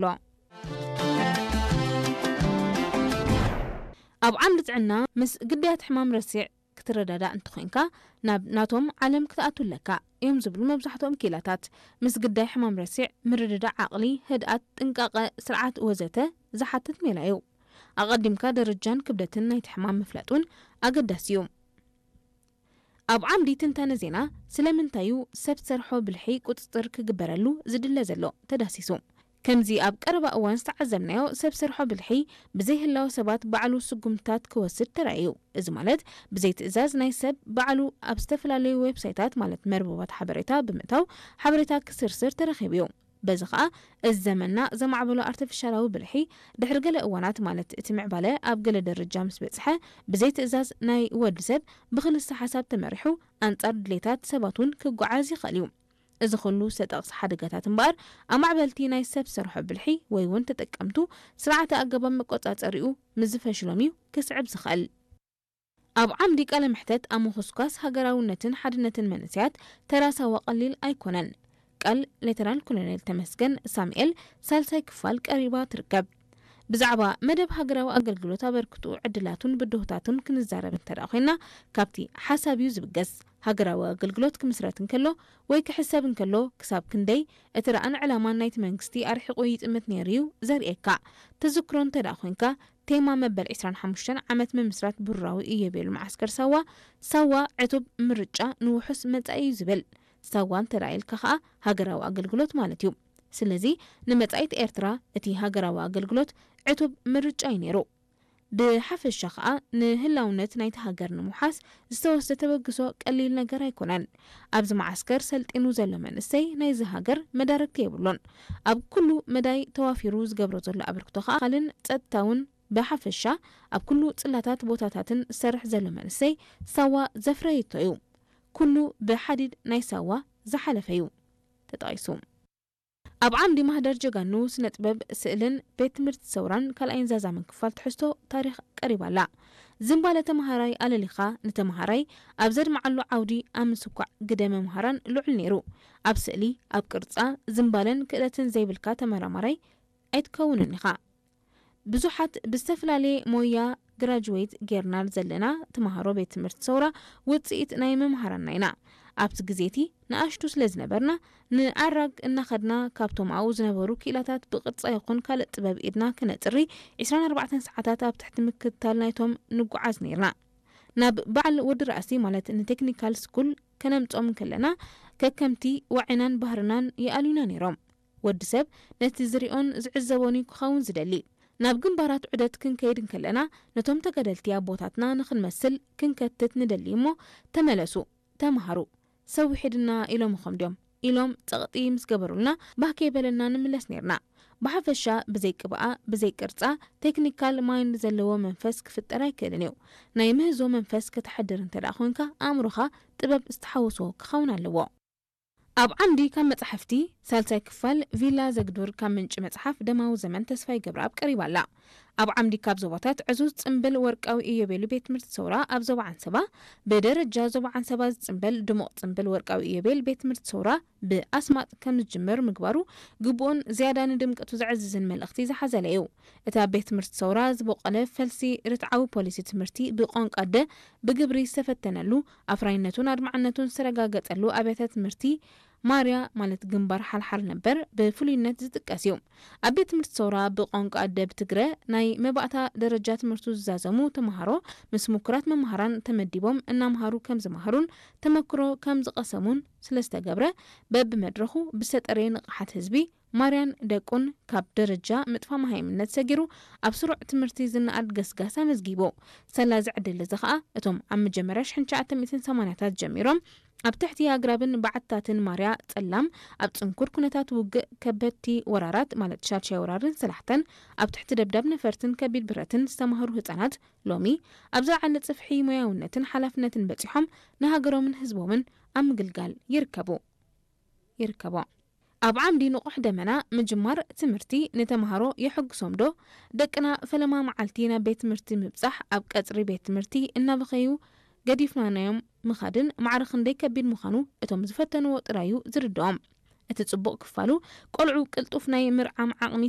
ኣሎ። ኣብ ዓምዲ ጥዕና ምስ ግዳያት ሕማም ረሲዕ ክትረዳዳእ እንተኾይንካ ናብ ናቶም ዓለም ክትኣቱ ኣለካ እዮም ዝብሉ መብዛሕትኦም ክኢላታት። ምስ ግዳይ ሕማም ረሲዕ ምርድዳእ ዓቕሊ፣ ህድኣት፣ ጥንቃቐ፣ ስርዓት ወዘተ ዝሓትት ሜላ እዩ። ኣቐዲምካ ደረጃን ክብደትን ናይቲ ሕማም ምፍላጥ እውን ኣገዳሲ እዩ። ኣብ ዓምዲ ትንታነ ዜና ስለምንታይ እዩ ሰብ ሰርሖ ብልሒ ቁጽጽር ክግበረሉ ዝድለ ዘሎ ተዳሲሱ። ከምዚ ኣብ ቀረባ እዋን ዝተዓዘብናዮ ሰብ ሰርሖ ብልሒ ብዘይህላወ ሰባት ባዕሉ ስጉምትታት ክወስድ ተራእዩ። እዚ ማለት ብዘይ ትእዛዝ ናይ ሰብ ባዕሉ ኣብ ዝተፈላለዩ ዌብሳይታት ማለት መርበባት ሓበሬታ ብምእታው ሓበሬታ ክስርስር ተረኺቡ እዩ። በዚ ኸኣ እዚ ዘመንና ዘማዕበሎ ኣርቲፊሻላዊ ብልሒ ድሕሪ ገለ እዋናት ማለት እቲ ምዕባለ ኣብ ገለ ደረጃ ምስ በጽሐ ብዘይ ትእዛዝ ናይ ወዲ ሰብ ብክልሰ ሓሳብ ተመሪሑ ኣንጻር ድሌታት ሰባት እውን ክጓዓዝ ይኽእል እዩ። እዚ ኩሉ ዝተጠቕሰ ሓደጋታት እምበኣር ኣማዕበልቲ ናይ ሰብ ሰርሖ ብልሒ ወይ እውን ተጠቀምቱ ስርዓተ ኣገባብ መቆጻጸሪኡ ምስ ዝፈሽሎም እዩ ክስዕብ ዝኽእል። ኣብ ዓምዲ ቃለ መሕተት ኣብ ምኹስኳስ ሃገራውነትን ሓድነትን መንእሰያት ተራ ሳዋ ቀሊል ኣይኮነን። ቃል ሌተናል ኮሎኔል ተመስገን ሳሙኤል ሳልሳይ ክፋል ቀሪባ ትርከብ። ብዛዕባ መደብ ሃገራዊ ኣገልግሎት ኣበርክትኡ ዕድላቱን ብድሆታቱን ክንዛረብ እንተ ደኣ ኮይና ካብቲ ሓሳብ እዩ ዝብገስ። ሃገራዊ ኣገልግሎት ክምስረት እንከሎ ወይ ክሕሰብ እንከሎ ክሳብ ክንደይ እቲ ራእን ዕላማን ናይቲ መንግስቲ ኣርሒቑ ይጥምት ነይሩ እዩ ዘርእየካ። ተዘክሮ እንተ ደኣ ኮይንካ ቴማ መበል ዕስራን ሓሙሽተን ዓመት ምምስራት ብሩራዊ ኢዮቤሉ መዓስከር ሳዋ፣ ሳዋ ዕቱብ ምርጫ ንውሑስ መጻኢ እዩ ዝብል። ሳዋ እንተ ደኣ ኢልካ ከኣ ሃገራዊ ኣገልግሎት ማለት እዩ። ስለዚ ንመጻኢት ኤርትራ እቲ ሃገራዊ ኣገልግሎት ዕቱብ ምርጫ እዩ ነይሩ። ብሓፈሻ ከኣ ንህላውነት ናይቲ ሃገር ንምውሓስ ዝተወስደ ተበግሶ ቀሊል ነገር ኣይኮነን። ኣብዚ መዓስከር ሰልጢኑ ዘሎ መንእሰይ ናይዚ ሃገር መዳርግቲ የብሉን። ኣብ ኩሉ መዳይ ተዋፊሩ ዝገብሮ ዘሎ ኣበርክቶ ከኣ ካልእን ጸጥታውን ብሓፈሻ ኣብ ኩሉ ጽላታት ቦታታትን ዝሰርሕ ዘሎ መንእሰይ ሳዋ ዘፍረየቶ እዩ። ኩሉ ብሓዲድ ናይ ሳዋ ዝሓለፈ እዩ ተጠቒሱ። ኣብ ዓምዲ ማህደር ጀጋኑ ስነ ጥበብ ስእልን ቤት ትምህርቲ ሰውራን ካልኣይን ዛዛምን ክፋል ትሕዝቶ ታሪኽ ቀሪባ ኣላ። ዝንባለ ተመሃራይ ኣለሊኻ ንተመሃራይ ኣብ ዘድምዓሉ ዓውዲ ኣብ ምስኳዕ ግደ መምሃራን ልዑል ነይሩ። ኣብ ስእሊ፣ ኣብ ቅርጻ፣ ዝንባለን ክእለትን ዘይብልካ ተመራማራይ ኣይትከውንን ኢኻ። ብዙሓት ብዝተፈላለየ ሞያ ግራጅዌት ጌርና ዘለና ተምሃሮ ቤት ትምህርቲ ሰውራ ውጽኢት ናይ መምሃራንና ኢና። ኣብቲ ግዜ እቲ ንኣሽቱ ስለ ዝነበርና ንኣራግ እናኸድና ካብቶም ኣብኡ ዝነበሩ ክኢላታት ብቅርጻ ይኹን ካልእ ጥበብ ኢድና ክነጽሪ ዕስራን ኣርባዕተን ሰዓታት ኣብ ትሕቲ ምክትታል ናይቶም ንጓዓዝ ኔርና። ናብ በዓል ወዲ ራእሲ ማለት ንቴክኒካል ስኩል ከነምጾም እንከለና ከከምቲ ዋዒናን ባህርናን ይኣልዩና ኔሮም። ወዲ ሰብ ነቲ ዝሪኦን ዝዕዘቦን እዩ ክኸውን ዝደሊ። ናብ ግንባራት ዑደት ክንከይድ እንከለና ነቶም ተጋደልቲ ኣቦታትና ንኽንመስል ክንከትት ንደሊ እሞ ተመለሱ፣ ተምሃሩ፣ ሰዊሕድና ኢሎምኹም ድዮም ኢሎም ጸቕጢ ምስ ገበሩልና ባህ ከይበለና ንምለስ ኔርና። ብሓፈሻ ብዘይ ቅብኣ ብዘይ ቅርጻ ቴክኒካል ማይንድ ዘለዎ መንፈስ ክፍጠር ኣይክእልን እዩ። ናይ ምህዞ መንፈስ ከተሕድር እንተ ደኣ ኮንካ ኣእምሮኻ ጥበብ ዝተሓወሶ ክኸውን ኣለዎ። ኣብ ዓምዲ ካብ መጻሕፍቲ ሳልሳይ ክፋል ቪላ ዘግዱር ካብ ምንጪ መጽሓፍ ደማዊ ዘመን ተስፋይ ገብረኣብ ቀሪባ ኣላ። ኣብ ዓምዲ ካብ ዞባታት ዕዙዝ ጽምብል ወርቃዊ ኢዮቤሉ ቤት ትምህርቲ ሰውራ ኣብ ዞባ ዓንሰባ ብደረጃ ዞባ ዓንሰባ ዝጽምበል ድሙቕ ጽምብል ወርቃዊ ኢዮቤል ቤት ትምህርቲ ሰውራ ብኣስማጥ ከም ዝጅምር ምግባሩ ግቡእን ዝያዳ ንድምቀቱ ዘዕዝዝን መልእኽቲ ዝሓዘለ እዩ። እቲ ኣብ ቤት ትምህርቲ ሰውራ ዝበቖለ ፈልሲ ርትዓዊ ፖሊሲ ትምህርቲ ብቋንቋ ኣደ ብግብሪ ዝተፈተነሉ ኣፍራይነቱን ኣድማዕነቱን ዝተረጋገጸሉ ኣብያተ ትምህርቲ ማርያ ማለት ግንባር ሓልሓል ነበር ብፍሉይነት ዝጥቀስ እዩ። ኣብ ቤት ትምህርቲ ሰውራ ብቋንቋ ኣደ ብትግረ ናይ መባእታ ደረጃ ትምህርቱ ዝዛዘሙ ተምሃሮ ምስ ምኩራት መምሃራን ተመዲቦም እናምሃሩ ከም ዝመሃሩን ተመክሮ ከም ዝቐሰሙን ስለ ዝተገብረ በብመድረኹ ብዝተጠረየ ንቕሓት ህዝቢ ማርያን ደቁን ካብ ደረጃ ምጥፋ መሃይምነት ሰጊሩ ኣብ ስሩዕ ትምህርቲ ዝነኣድ ገስጋስ ኣመዝጊቡ። ሰላዚ ዕድል እዚ ኸኣ እቶም ኣብ መጀመርያ ሽሕን ትሽዓተ ሚእትን ሰማንያታት ጀሚሮም ኣብ ትሕቲ ኣግራብን በዓትታትን ማርያ ጸላም ኣብ ጽንኩር ኩነታት ውግእ ከበድቲ ወራራት ማለት ሻድሻይ ወራርን ሰላሕተን ኣብ ትሕቲ ደብዳብ ነፈርትን ከቢድ ብረትን ዝተማህሩ ህጻናት ሎሚ ኣብ ዝለዓለ ጽፍሒ ሞያውነትን ሓላፍነትን በጺሖም ንሃገሮምን ህዝቦምን ኣብ ምግልጋል ይርከቡ። ይርከቦ። ኣብ ዓምዲ ንቑሕ ደመና ምጅማር ትምህርቲ ንተምሃሮ የሐጉሶም ዶ? ደቅና ፈለማ መዓልቲ ናብ ቤት ትምህርቲ ምብጻሕ ኣብ ቀጽሪ ቤት ትምህርቲ እናበኸዩ ገዲፍናናዮም ምኻድን ማዕረ ክንደይ ከቢድ ምዃኑ እቶም ዝፈተንዎ ጥራይ እዩ ዝርድኦም። እቲ ጽቡቕ ክፋሉ ቆልዑ ቅልጡፍ ናይ ምርዓም ዓቕሚ